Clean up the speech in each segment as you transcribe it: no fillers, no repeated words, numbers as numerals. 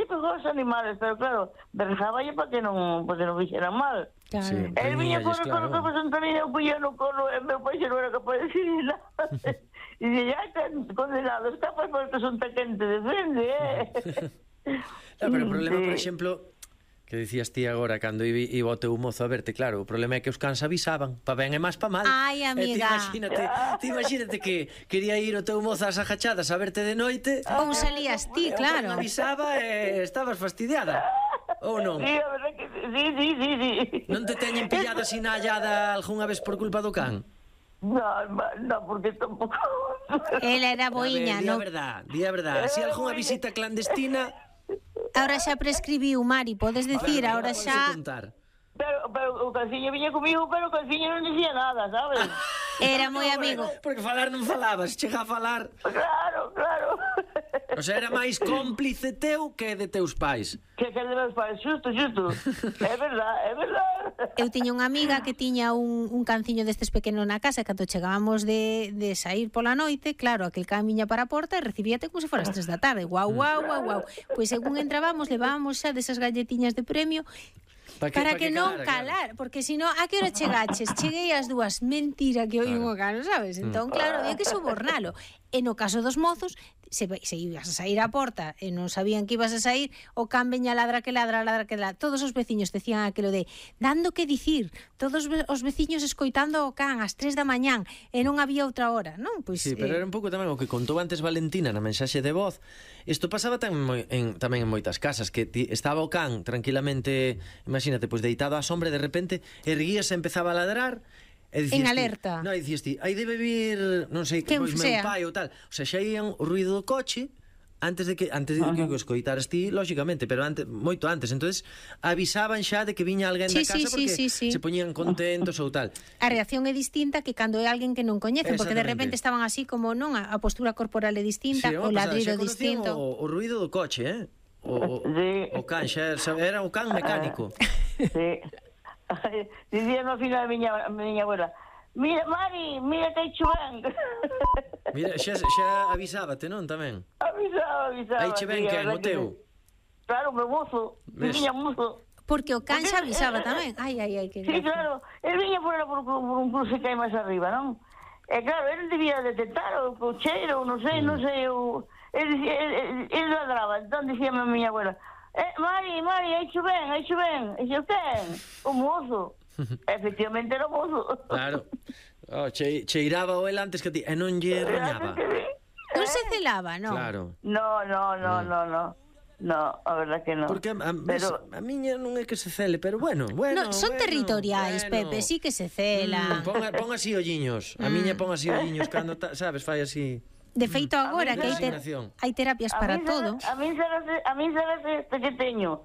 pegou aos animales, pero claro, berzáballe para que non fixeran mal. Claro. Sí. El viña con Claro. o que pasó tamén, eu puña no colo, e meu pai xa non era capaz de decir nada. E dixen, ya, condenado, está pues porque son tan quente de frente, No, pero o problema, por exemplo, que dicías ti agora cando iba o teu mozo a verte, claro, o problema é que os cans avisaban, pa ben e máis pa mal. Ai, amiga. Ti imagínate que quería ir o teu mozo ás agachadas a verte de noite. Ou salías ti, E o claro. can avisaba e estabas fastidiada. Ou non? Sí, a verdad que sí. Non te teñen pillado así na hallada algunha vez por culpa do can? No, porque tampouco. Ela era boiña, Di a non? verdad, di a verdad. Si algunha visita clandestina, Ahora xa prescribiu, Mari, podes decir, ahora podes xa contar. Pero o calciño viña comigo, pero o calciño non dicía nada, sabes? era moi amigo. Porque falar non falabas, chega a falar. Claro. O sea, era máis cómplice teu que de teus pais. Que de meus pais, xusto. É verdad. Eu tiña unha amiga que tiña un canciño destes pequenos na casa, e cando chegábamos de sair pola noite, claro, aquel can viña para a porta e recibíate como se foras 3 da tarde. Guau. Pois según entrábamos, levábamos xa desas galletiñas de premio para que non calar, porque senón, a que hora chegaches? Cheguei ás 2, mentira que oín o cano, sabes? Entón, claro, había que sobornalo. E no caso dos mozos, se ibas a sair á porta e non sabían que ibas a sair, o can veña ladra que ladra. Todos os veciños decían aquilo de dando que dicir, todos os veciños escoitando o can ás 3 da mañán e non había outra hora, non? Pois, Sí, pero era un pouco tamén o que contou antes Valentina na mensaxe de voz. Isto pasaba tamén en moitas casas, que estaba o can tranquilamente, imagínate, pois deitado á sombra, de repente erguíase e empezaba a ladrar. En alerta. Non, dicías ti, aí debe vir, non sei, Quen pois meu sea. pai ou tal. O sea, xa ían o ruido do coche antes de que o escoitaras ti, lógicamente, pero moito antes. Entonces avisaban xa de que viña alguén da casa porque se poñían contentos ou tal. A reacción é distinta que cando é alguén que non coñecen, porque de repente estaban así como non, a postura corporal é distinta, o ladrido distinto. O ruido do coche, o can, xa era o can mecánico. Sí. Dicía no final a miña abuela, mira, Mari, mira que hai chuvén. Mira, xa avisábate, non, tamén? Avisaba. Aí che ven quen, o teu? Claro, meu mozo, miña mozo. Porque o can xa avisaba tamén. Ai, que Sí, claro, el viña por un cruce que hai máis arriba, non? E claro, ele debía detectar o cheiro, non sei, ele ladraba, entón dicíame a miña abuela, Mari, hai chuvén. E eu ten, o mozo. Efectivamente era o mozo. Claro. Cheiraba o el antes que ti, e non lle roñaba. Non se celaba, non? Claro. No, a verdad que no. Porque a miña non é que se cele, pero bueno. Son territoriais, Pepe, sí que se celan. Pon así olliños. A miña pon así olliños cando, sabes, fai así. De feito agora que hai terapias para todo. A mí sabes este que teño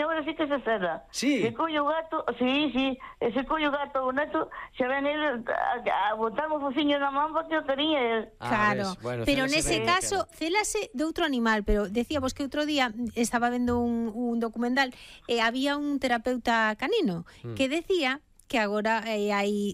agora sí que se cela. Sí. Se collo o gato, sí, se collo o gato o neto, xa ven ele a botar o fociño na man porque o tería el. Claro, pero nese caso célase de outro animal, pero decíamos que outro día estaba vendo un documental e había un terapeuta canino que decía que agora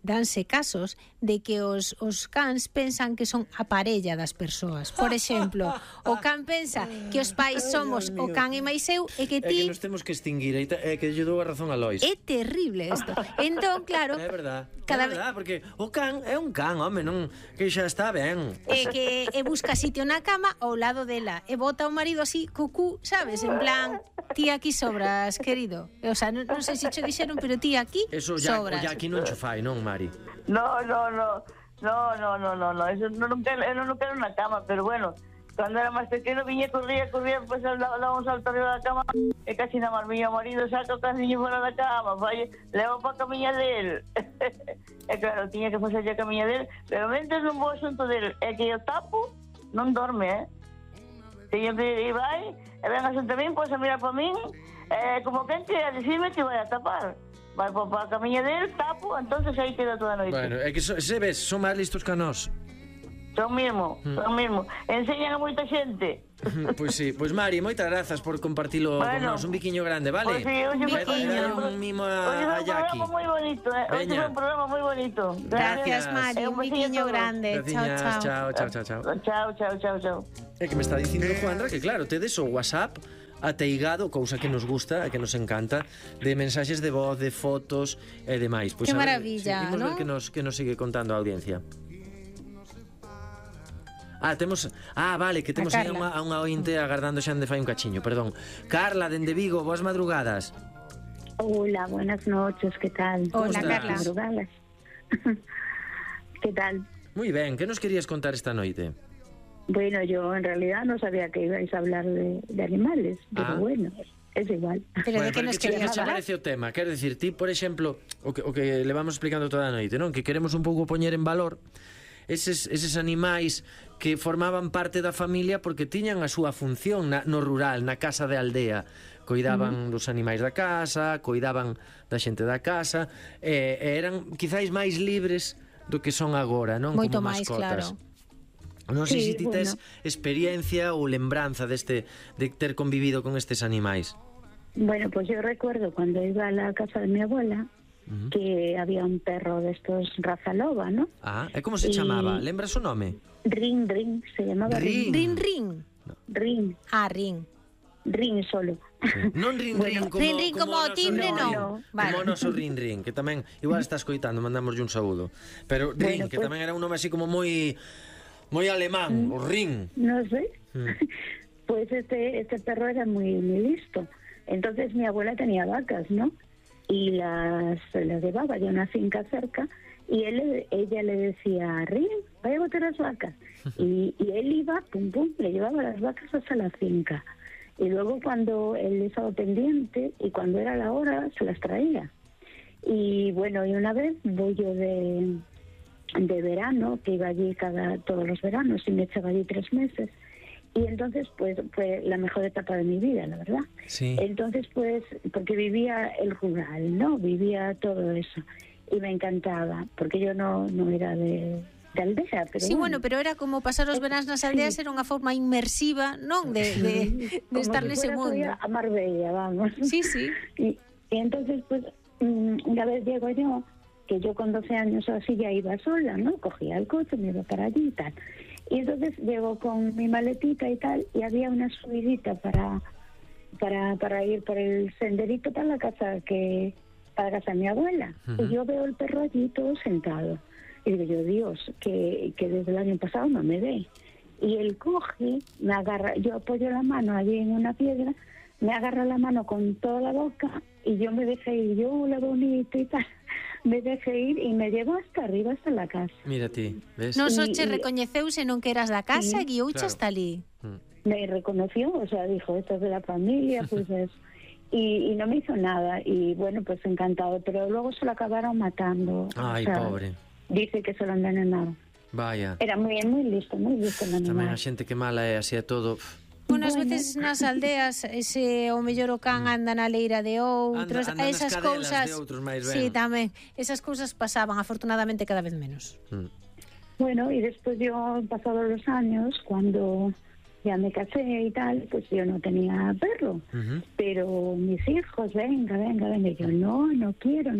danse casos de que os cans pensan que son a parella das persoas. Por exemplo, o can pensa que os pais somos o can e máis eu e que ti... É que nos temos que extinguir, é que lle dou a razón a Lois. É terrible isto. Entón, claro... É verdad, porque o can é un can, home, non, que xa está ben. É que busca sitio na cama ao lado dela e bota o marido así, cucú, sabes, en plan, ti aquí sobras, querido. O sea, non sei se cho dixeron, pero ti aquí sobras. O aquí non cho fai, non, Mari? No, eso non quero na cama, pero bueno, cando era máis pequeno viña, corría, pues daba un salto arriba da cama e casi na marmiña o marido saca o canciño fora da cama, leva pa camiña del. E claro, tiña que facer a camiña del, pero mentres non vou asunto del, é que o tapo non dorme, Teño que ir vai, e ven asunto a min, pois a mirar pa min, como quen que a decirme que vai a tapar. Vai pa a camiña del, tapo, entonces aí queda toda a noite. Bueno, é que se ves, son máis listos que nós. Son mismo. Enseñan a moita xente. Pois sí, pois Mari, moitas grazas por compartilo con nós, un biquiño grande, vale? Pois sí, un mimo a Jackie. Hoxe foi un programa moi bonito, Hoxe foi un programa moi bonito. Gracias, Mari, un biquiño grande. Chao. Chao. É que me está dicindo Juanra que claro, tedes o WhatsApp ateigado, cousa que nos gusta e que nos encanta, de mensaxes de voz, de fotos e demais. Pois Que a ver, maravilla, imos ¿no? ver que nos sigue contando a audiencia. Vale, que temos aí a unha ointe agardando xa de fai un cachiño, perdón. Carla, dende Vigo, boas madrugadas. Hola, buenas noches, ¿qué tal? Hola, estás? Carla. Madrugadas. ¿Qué tal? Moi ben, que nos querías contar esta noite? Bueno, yo en realidad no sabía que ibais a hablar de animales, pero bueno, es igual. Pero de que nos querías che falar? parece o tema? Quero dicir, ti, por exemplo, o que le vamos explicando toda a noite, non? Que queremos un pouco poñer en valor eses animais que formaban parte da familia porque tiñan a súa función no rural, na casa de aldea. Coidaban dos animais da casa, coidaban da xente da casa, e eran quizáis máis libres do que son agora, non? Moito Como máis, mascotas. claro. Non sei Sí, se ti tes bueno. experiencia ou lembranza de ter convivido con estes animais. Bueno, pues yo recuerdo cuando iba a la casa de mi abuela que había un perro de estos raza loba, ¿no? E como se Y- chamaba? Lembras o nome? Ring, se llamaba Ring. Rin, rin. Ring, Rin. Ring solo. Non rin rin como, rin, rin como o noso timbre, rin, non. rin. Vale. Como o noso rin rin, que tamén igual está escoitando, mandamoslle un saúdo. Pero rin, Bueno, que pues- tamén era un nome así como moi alemán, o rin. No sé. Pues este perro era muy listo. Entonces mi abuela tenía vacas, ¿no? Y las llevaba de una finca cerca y ella le decía, Rin, vaya a botar las vacas. Y él iba, pum, pum, le llevaba las vacas hasta la finca. Y luego cuando él estaba pendiente y cuando era la hora, se las traía. Y bueno, y una vez voy yo de verano, que iba allí todos los veranos y me echaba allí 3 meses. Y entonces, pues, fue la mejor etapa de mi vida, la verdad. Sí. Entonces, pues, porque vivía el rural, ¿no? Vivía todo eso. Y me encantaba, porque yo no era de aldea, pero Sí, bueno, pero era como pasar os veráns nas aldeas, Sí. era unha forma inmersiva, non? De como estar si nese fuera mundo. todavía a Marbella, vamos. Sí, sí. Y entonces, pues, una vez llego yo, que yo con 12 años o así ya iba sola, ¿no? Cogía el coche, me iba para allí y tal. Y entonces llego con mi maletita y tal, y había una subidita para ir por el senderito para la casa de mi abuela. Y yo veo el perro allí todo sentado. Y digo yo, Dios, que desde el año pasado no me ve. Y él coge, me agarra, yo apoyo la mano allí en una piedra, me agarra la mano con toda la boca y yo me dejé ir, yo, hola bonito y tal, me dejé ir y me llevó hasta arriba, hasta la casa. Mira ti, ves? Non só Y- che y- recoñeceuse non que eras da casa, Sí, guiouche claro. hasta ali. Me reconoció, o sea, dijo, esto es de la familia, pues es... Y no me hizo nada, y bueno, pues encantado, pero luego se lo acabaron matando. Ai, o sea, pobre. Dice que se lo envenenaron. Vaya. Era muy listo el Tamén animal. a xente que mala é así a todo. Unas veces nas aldeas o mellor o can anda na leira de outros, Anda nas esas cadelas cousas. de outros máis ben. Sí, tamén. Esas cousas pasaban afortunadamente cada vez menos. Bueno, y después yo, pasados los años, cuando ya me casé y tal, pues yo no tenía perro. Pero mis hijos, venga, y yo, no quiero.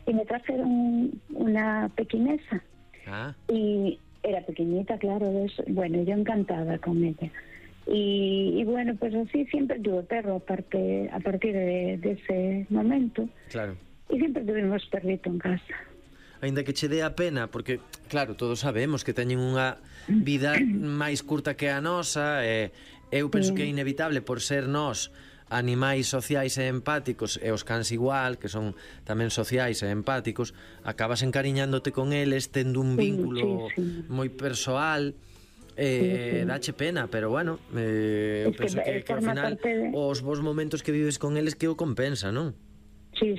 Y me trajeron una pequinesa. Ah, Y era pequeñita, claro, bueno, yo encantada con ella. Y bueno, pues así siempre tuve perro a partir de ese momento. claro. Y siempre tuvimos perrito en casa. Aínda que che dé a pena, porque, claro, todos sabemos que teñen unha vida máis curta que a nosa, e eu penso que é inevitable por ser nós animais sociais e empáticos, e os cans igual, que son tamén sociais e empáticos, acabas encariñándote con eles, tendo un vínculo sí. moi persoal, dache pena, pero bueno, eu Es que penso que ao forma final parte de- os vos momentos que vives con eles que o compensa, non? Sí,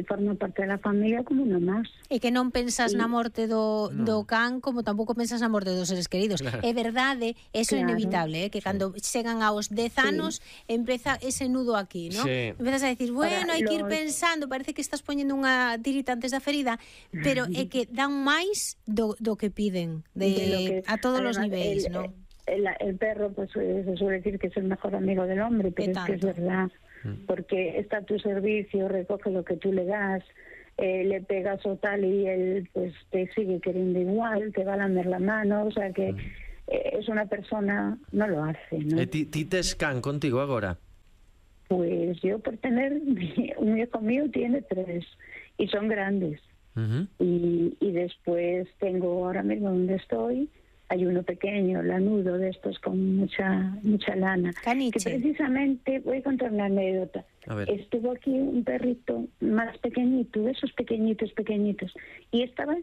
forma parte de la familia como uno más. E que non pensas na morte do can como tampouco pensas na morte dos seres queridos. Claro. É verdade, eso é Claro. inevitable, que cando chegan aos 10 anos empeza ese nudo aquí, ¿no? Sí. Empezas a decir, bueno, hai que ir pensando, parece que estás poñendo unha tirita antes da ferida, pero é que dan máis do que piden, De lo que- a todos os además, niveis, ¿no? El perro, pues se suele decir que es el mejor amigo del hombre, pero es que es tanto. verdad, porque está a tu servicio, recoge lo que tú le das, le pegas o tal y él pues te sigue queriendo igual, te va a lamer la mano, o sea que es una persona, no lo hace, ¿no? E ti tes can contigo agora? Pues yo por tener, un hijo mío tiene 3 y son grandes. Y después tengo ahora mismo donde estoy, hay uno pequeño, lanudo, de estos con mucha lana. Caniche. Que precisamente, voy a contar una anécdota. Estuvo aquí un perrito más pequeñito, de esos pequeñitos, y estaba